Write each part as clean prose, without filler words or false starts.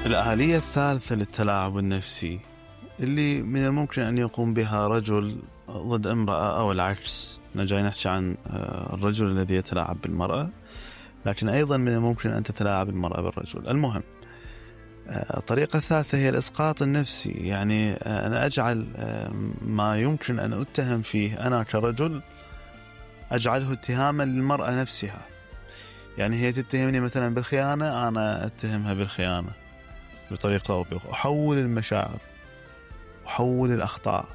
الآلية الثالثة للتلاعب النفسي اللي من الممكن أن يقوم بها رجل ضد امرأة أو العكس. جاي نحكي عن الرجل الذي يتلاعب بالمرأة، لكن أيضا من الممكن أن تتلاعب المرأة بالرجل. المهم الطريقة الثالثة هي الإسقاط النفسي، يعني أنا أجعل ما يمكن أن أتهم فيه أنا كرجل أجعله اتهاما للمرأة نفسها. يعني هي تتهمني مثلا بالخيانة، أنا أتهمها بالخيانة بطريقة أو بأخرى. أحول المشاعر، أحول الأخطاء.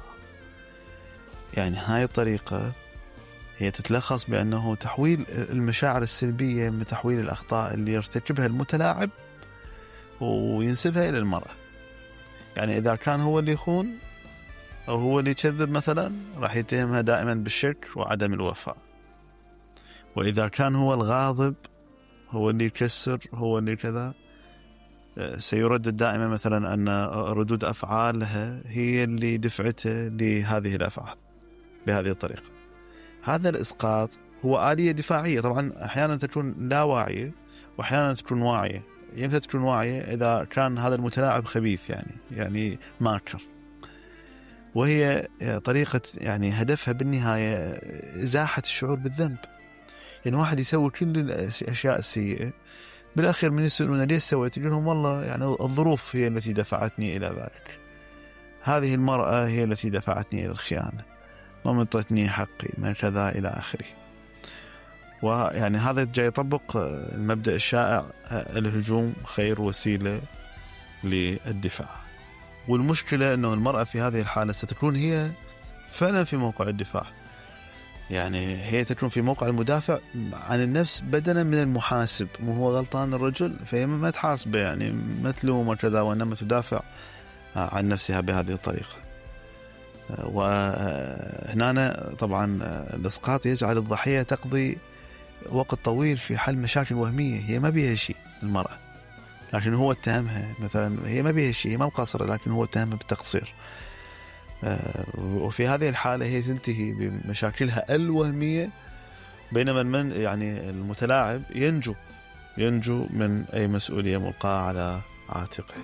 يعني هاي الطريقة هي تتلخص بأنه تحويل المشاعر السلبية من تحويل الأخطاء اللي يرتكبها المتلاعب وينسبها إلى المرأة. يعني إذا كان هو اللي يخون أو هو اللي يكذب مثلا، راح يتهمها دائما بالشك وعدم الوفاء. وإذا كان هو الغاضب، هو اللي يكسر، هو اللي كذا، سيردد دائما مثلا أن ردود أفعالها هي اللي دفعته لهذه الأفعال بهذه الطريقة. هذا الإسقاط هو آلية دفاعية، طبعا أحيانا تكون لا واعية وأحيانا تكون واعية. يمكن تكون واعية إذا كان هذا المتلاعب خبيث، يعني ماكر، وهي طريقة يعني هدفها بالنهاية إزاحة الشعور بالذنب. يعني واحد يسوي كل الأشياء السيئة، بالأخير من يسألون ليش سويت، يقول لهم والله يعني الظروف هي التي دفعتني إلى ذلك، هذه المرأة هي التي دفعتني إلى الخيانة، ما منطتني حقي، ما كذا إلى آخره. ويعني هذا جاي يطبق المبدأ الشائع الهجوم خير وسيلة للدفاع. والمشكلة أنه المرأة في هذه الحالة ستكون هي فعلا في موقع الدفاع، يعني هي تكون في موقع المدافع عن النفس بدلا من المحاسب. مو هو غلطان الرجل، فهي ما تحاسبه، يعني ما تلومه كذا، وإنما تدافع عن نفسها بهذه الطريقة. وهنا طبعا الإسقاط يجعل الضحية تقضي وقت طويل في حل مشاكل وهمية هي ما بيها شيء المرأة، لكن هو اتهمها مثلا، هي ما بيها شيء، هي ما مقصرة، لكن هو اتهمها بالتقصير. وفي هذه الحالة هي تنتهي بمشاكلها الوهمية، بينما يعني المتلاعب ينجو من أي مسؤولية ملقاة على عاتقه.